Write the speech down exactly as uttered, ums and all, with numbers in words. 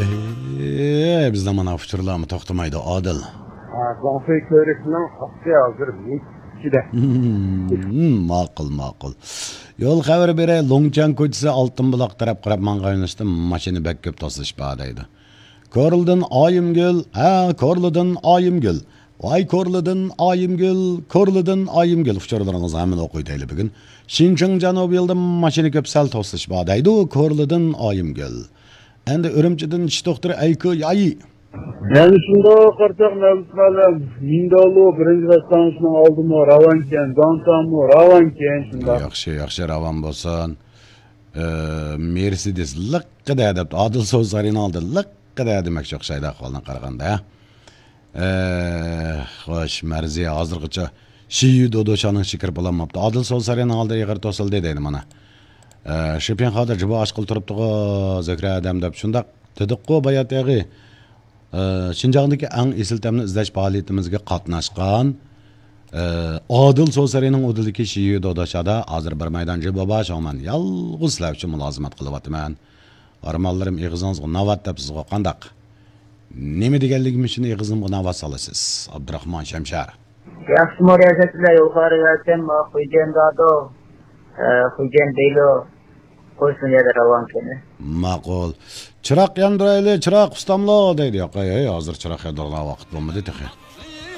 ئەي، بىزدە مانا ئۇچۇرلارمۇ توختىمايدۇ، ئادىل. ھە، گۇاڭفېي كۆۋرۈكىنىڭ ئاستى ھازىر مىچىدە. ماقۇل، ماقۇل. يول خەۋىرى بېرەي، لوڭچيەن كوچىسى ئالتۇن بۇلاق تەرەپ قاراپ ماڭغان يۆنىلىشتە ماشىنا بەك كۆپ توسۇلۇش بار دەيدۇ. كورلىدىن ئايىمگۈل، ھە، كورلىدىن ئايىمگۈل. ۋاي كورلىدىن ئايىمگۈل، كورلىدىن ئايىمگۈل. ئۇچۇرلىرىڭىزنى ھەممىنى ئوقۇيتايلى بۈگۈن. شىنجاڭ جەنۇبىي يولىدا ماشىنا كۆپ، سەل توسۇلۇش بار دەيدۇ، كورلىدىن ئايىمگۈل. ئەندى ئۈرۈمچىدىن چىش دوختۇرى ئەيكۇ يايى. يەنە شۇنداق قارىساق، مەۋلۇت مۇئەللىم، مىندالۇ بىرىنچى ۋەتسانسنىڭ ئالدىمۇ راۋانكەن، داڭسانمۇ راۋانكەن، شۇنداق. ياخشى، ياخشى، راۋان بولسۇن. ئە، مېرسېدېس لىققىدە دەپتۇ. ئادىل سوزا سارىيىنىڭ ئالدىدا لىققىدە دېمەكچى ئوخشايدۇ، ئەھۋالدىن قارىغاندا. ئە، خوش، مەرزىيە ھازىرغىچە شىيۈ دودوشانىڭ ئىچىگە كىرىپ بولالماپتۇ. ئادىل سوزا سارىيىنىڭ ئالدى ئېغىر توسۇلدى دەيدۇ مانا. ئە، شىپىڭخادا جىبا ئاچقىلى تۇرۇپتىغۇ، زۆھرە ئادەم دەپ شۇنداق دېدۇققۇ بايا تېخى. ئە، شىنجاڭدىكى ئەڭ ئېسىل تەمنى ئىزدەش پائالىيىتىمىزگە قاتناشقان، ئە، ئادىل سوسەرىنىڭ ئۇدۇلىدىكى شىيۈ دوداشادا ھازىر بىر مەيدان جىبا بار، شۇڭا مەن يالغۇز سىلەر ئۈچۈن مۇلازىمەت قىلىۋاتىمەن. ئارمانلىرىم ئېغىزىڭىزغا ناۋات دەپ سىزغۇ قانداق؟ نېمە دېگەنلىكىم ئۈچۈن ئېغىزىمغا ناۋات سالىسىز؟ ئابدۇراخمان شەمشەر. ياخشىمۇ رىياسەتچىلەر، يۇقىرى يەتكەنمۇ، خۇيجەن دادو، ئە، خۇيجەن دېيلو، قويسۇن يەردە راۋانكەننى. ماقۇل. چىراغ ياندۇرايلى، چىراغ ئۇستاملو دەيدۇ. ياق، ھەي، ھەي، ھازىر چىراغ ياندۇرغان ۋاقىت بولمىدى تېخى.